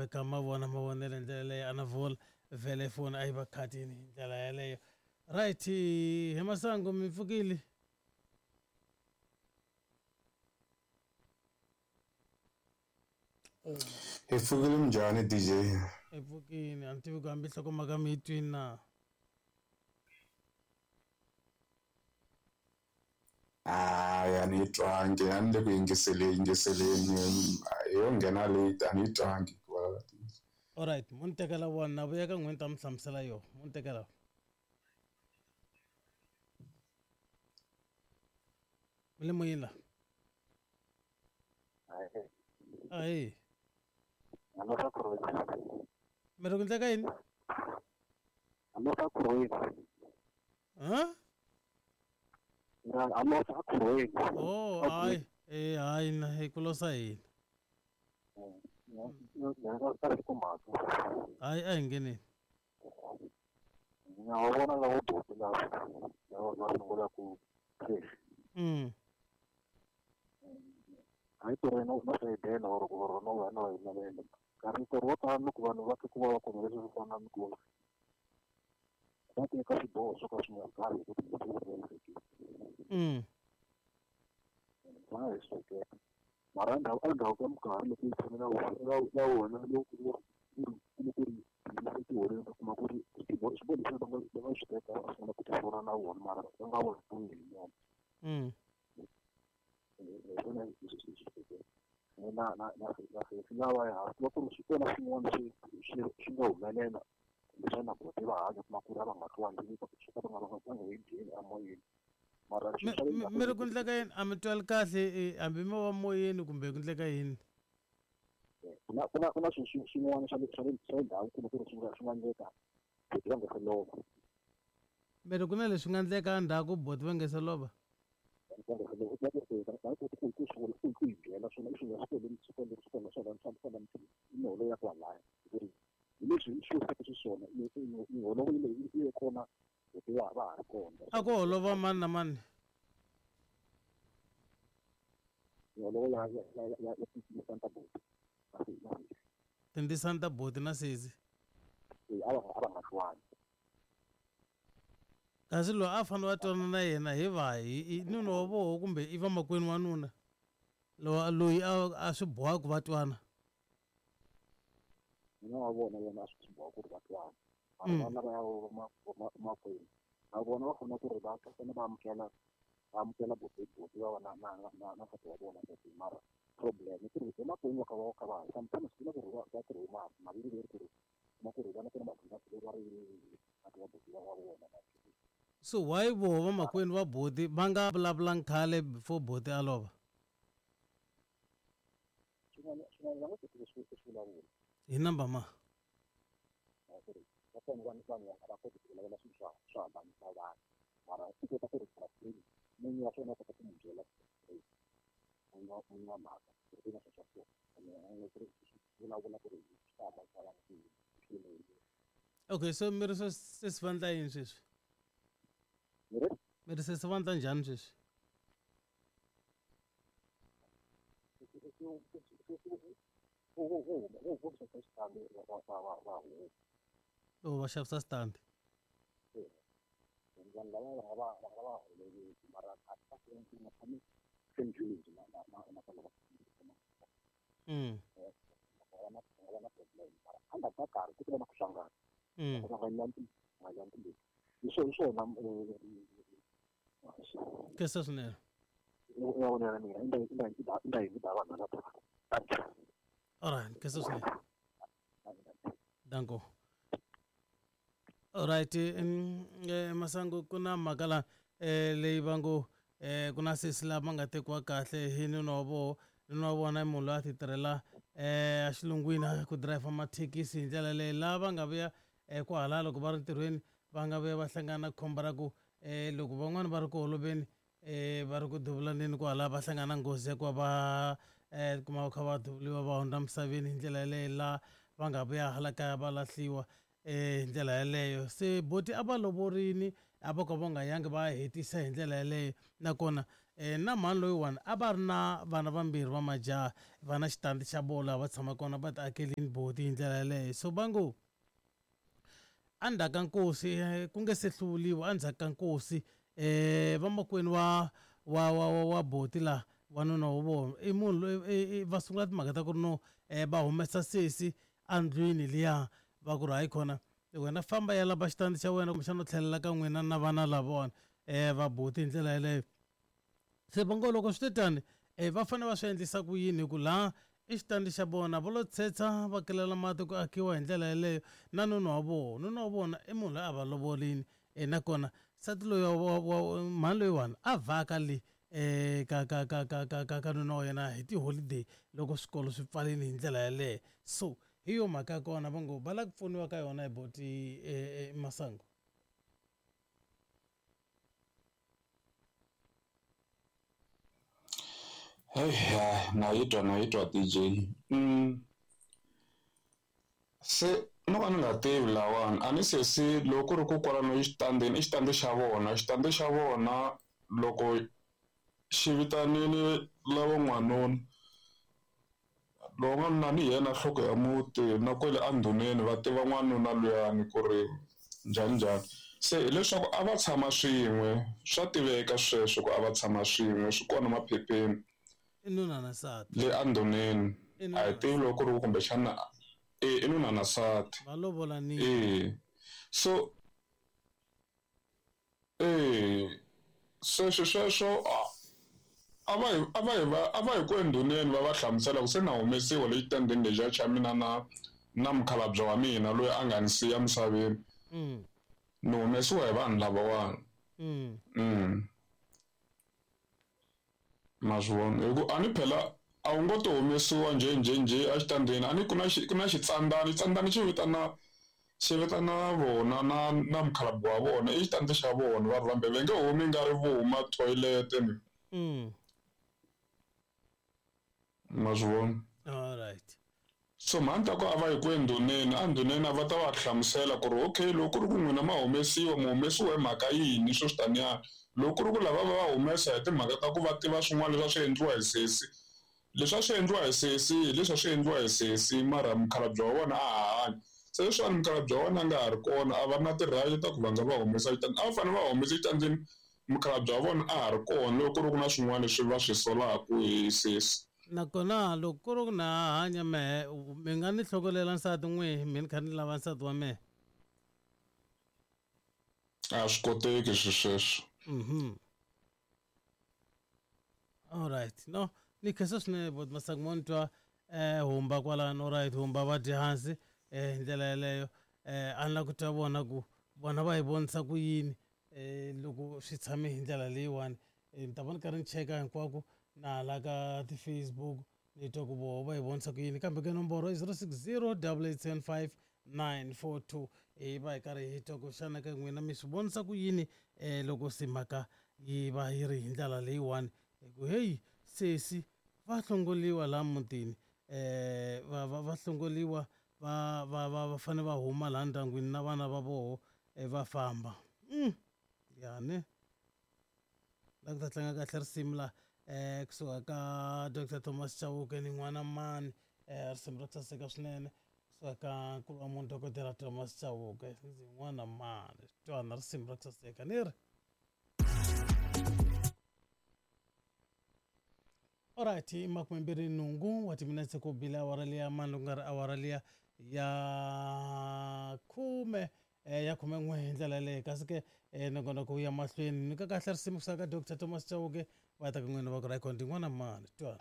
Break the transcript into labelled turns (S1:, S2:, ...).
S1: veka ma vona mavonelo hi ndlela leyo a na vula vhele foni a yi va khatini hi ndlela yaleyo. Right, he Masangu mi pfukile?
S2: Hi pfukile minjhani DJ?
S1: Hi pfukile, a ni tivi ku hambi nhlokomhaka mi yi twini na.
S2: Hayi a ni yi twangi a ni le ku yingiseleni yingiseleni yo nghena late a ni yi twangi ku vulavula ntiyiso.
S1: Alright, mo ni tekela wona na vuya ka n'wina ni ta mi hlamusela yona mo ni tekela. Mi le moyeni la? Ahee. Mi ri ku endleka yini? Ha? Oh, hayi. Eh, hayi na hi ku losa hina. Hayi a hi ngheneni. Mm.
S3: Hayi ku ri no no sayidela or ku ri no va no yi navela nkarhi nkarhi wo tala loko vanhu va twa ku vava kumbe leswi swi fana ni ku va teka swiboho swo ka swi nga karhi hi ku ti va nga hi hleketa mara endzhaku endzhaku ka minkarhi loko yi tshame na wona na wona loko ku ri ku ri tiholweni u kuma ku ri swiboho swiboho leswi va nga va nga swi teka va sungula ku tisola na vona mara va nga voni hi nyama. Hi swona na na na na sesi lavaya ku va ku ri swi kona swin'wana swi swi swi nga humelela kumbexana buti va hanya kuma ku ri a va nga twani swo ka va nga va nga va nga yi ngheni emoyeni mara
S1: Mi
S3: swilo swa le
S1: mi
S3: ndzhaku
S1: mi ri ku endleka yini? A mi twali kahle hambi mo va moyeni kumbe ku endleka yini?
S3: Ku na ku na ku na swilo swin'wana swa le swa le swa le ndhawu kumbe ku ri swi nga swi nga endleka buti va nga se lova.
S1: Mi ri ku na leswi nga endleka endzhaku buti va nga se lova?
S3: Va nga se lova va nga koti ku ku swi ku ku yi byela swona i swilo swi kwele swi kwele swi kwele swona swa swa miholo ya kwalaya ku ri hi leswi swi swi xiswona miholo yi yi kona buti va va ha ri kona.
S1: A ku holova mani na mani?
S3: Miholo ya ya ya ya ya tindzisana ta buti na sesi na sesi.
S1: Tindzisana ta buti na sesi?
S3: Eh, a va a va nga twani.
S1: Kasi loyi a fanele va twana na yena hi vahi? I nuna wa voho kumbe i vamakwenu wa nuna? Loyi loyi a a swi boha ku va twana.
S3: Nuna wa vona yena a swi boha ku ri va twana. Mara vana lavaya va makwenu na vona va fanele ku ri va fanele va amukela va amukela buti buti va na na na na nsati wa vona mara problem i ku ri emakwenu va kha va kha va sometimes ku na ku ri va va tirhe maviri leri ku ri kuma ku ri vana ku na leri va ri nsati wa buti wa vona.
S1: So why voho vamakwenu va buti va nga vulavulangi khale before buti a lova?
S3: Swin'wana swin'wana va nga koti ku swi ku swi vulavula.
S1: Hi number ma?
S3: Ku ri va kona vanhu vanhu a va koti ku vulavula swilo swa swo hambanisa vanhu mara u kota ku ri munhu wa swona u kota ku n'wi byela n'winyi wa n'winyi wa mhaka ku ri ku na swilo swa so ene ku ri vulavula ku ri swi ta hambanisa vanhu ku yini.
S1: Okay, so mi ri se sesi va endla yini sweswi?
S3: Mi ri?
S1: Mi ri sesi va endla njhani sweswi? Oh, va xavisa stand.
S3: Vanhu lava va nga va va nga va holeriwi mara a va tshami same village na na na na va va na va na problem mara endzhaku ka nkarhi ku ta va na ku hlangana. Va nga nga lanti hi swona hi swona.
S1: Khensa swinene.
S3: Ya vona mina i nda i nda i da vanhu lava.
S1: Alright, khensa swinene. Danko. Alright, Masangu ku na mhaka la leyi va ngo ku na sesi lava nga tekiwa kahle hi nuna wa voho. Nuna wa vona i munhu loyi a ti tirhela a xilungwini ku driver mathekisi hi ndlela leyi lava nga vuya kwahala loko va ri ntirhweni va nga vuya va hlangana na khombo ra ku loko van'wani va ri ku holoveni va ri ku duvulaneni kwala va hlangana na nghozi ya ku va va kuma va kha va duvuliwa va hundza misaveni hi ndlela yaleyo la va nga vuya hala kaya va lahliwa hi ndlela yaleyo. Se buti a va lovorini a va ka va nga yangi va ya hetisa hi ndlela yaleyo nakona Na mhani loyiwani a va ri na vana vambirhi va majaha, va na xitandi xa vona laha va tshama kona, va ti akelini boti hi ndlela yaleyo. So va ngo endzhaku ka nkosi, ku nge se hluvuriwa, endzhaku ka nkosi vamakwenu wa boti laha, wanuna wa vona i munhu loyi va sungula timhaka ta ku ri no va humesa sesi endlwini liya, va ku ri hayi khona wena famba ya lava xitandi xa wena, kumbexana u tlhelela ka n'wina na vana lavawani va boti hi ndlela yaleyo. Se va ngo loko swi te tani, va fanele va swi endlisa ku yini, hi ku laha i xitandi xa vona, va lo tshetsha va kelela mati ku akiwa hi ndlela yaleyo na nuna wa vona. Nuna wa vona i munhu loyi a va lovolini, nakona nsati loyi wa mhani loyiwani a vhaka le ka ka ka ka ka ka ka nuna wa yena hi tiholideyi loko swikolo swi pfalini hi ndlela yaleyo. So hi yo mhaka ya kona va ngo va lava ku pfuniwa ka yona hi boti Masangu.
S2: Hey, na yi twa, na yi twa DJ. Se no ka ni nga tivi lawani, a ni se se loko ku ri ku kwalano exitandini, i xitandi xa vona, xitandi xa vona loko xi vitanile lava n'wanuna, lowu n'wanuna ni yena nhloko ya muti na kwele endhuneni va tiva n'wanuna luyani ku ri njhani njhani. Se hileswaku a va tshama swin'we, swa tiveka sweswo ku a va tshama swin'we, swi kona maphepheni.
S1: I nuna na nsati.
S2: Le endhuneni. A hi tivi loko ku ri kumbexana i nuna na nsati.
S1: Va lovolanile.
S2: So sweswo sweswo a va hi ku endhuneni va va hlamusela ku se na humesiwa le xitandini lexiya xa mina na mukhalabye wa mina loyi a nga ni siya misaveni. Ni humesiwa hi vanhu lavawani. Ma swi vona hi ku a ni phela a wu ngo to humesiwa njhe njhe njhe exitandini, a ni ku na ku na xitsandani, xitsandani xi vitana vona na mukhalabye wa vona, i xitandi xa vona va ri vambirhi, va nge humi nga ri vo huma toilet ni. Ma swi vona?
S1: All right.
S2: So mhani ta ku a va yi ku endhuneni, endhuneni a va ta va hlamusela ku ri okay loko ku ri ku n'wina ma humesiwa, mi humesiwa hi mhaka yini swo swi taniya. Loko ku ri ku lava va humesa hi timhaka ta ku va tiva swin'wana leswi a swi endliwa hi sesi, leswi a swi endliwa hi sesi hi leswi a swi endliwa hi sesi, mara mukhalabye wa vona a ha hanyi. Se leswiwani mukhalabye wa vona a nga ha ri kona, a va na ti-right ta ku va nga va humesa xitandini, a va fanele va humesa xitandini mukhalabye wa vona a ha ri kona loko ku ri ku na swin'wana leswi va swi solaka hi sesi.
S1: Nakona loko ku ri ku na hanya mehe, mi nga ni hlokolela nsati n'wihi, mi ni kha ni lava nsati wa mehe?
S2: A swi koteki swi sweswo.
S1: All right. No, ni khensa swinene boti Masangu, mo ni twa humba kwalano. All right, humba va dya hansi hi ndlela yeleyo. A ni lava ku twa vona ku vona va yi vonisa ku yini loko swi tshame hi ndlela leyiwani. Ni ta va ni karhi ni cheka hinkwako na hala ka ti-Facebook, ni twa ku voho va yi vonisa ku yini. Kambe ke nomboro i 060 875 942, hi va hi karhi hi twa ku xana ka n'wina mi swi vonisa ku yini loko se mhaka yi va yi ri hi ndlela leyiwani. Hi ku heyi sesi va hlongoliwa laha mutini, va hlongoliwa, va fanele va huma laha ndyangwini na vana va voho va famba. Yani la ku ta tlanga kahle risimu la kusuka ka Dr Thomas Chauke ni n'wana mani, risimu ra ku saseka swinene kusuka ka nkulu wa munhu Dokodela Thomas Chauke, ndzi n'wana mani, twana risimu ra ku saseka ni ri. Alright, i 28 wa timinetse ku bile awara liya mani, loko ku nga ri awara liya ya 10 ya 11 hi ndlela yaleyo. Kasi ke nongonoko wu ya mahlweni, nyika kahle risimu kusuka ka Dr Thomas Chauke, va ta ka n'wina va ku ri ndi n'wana mani, twana.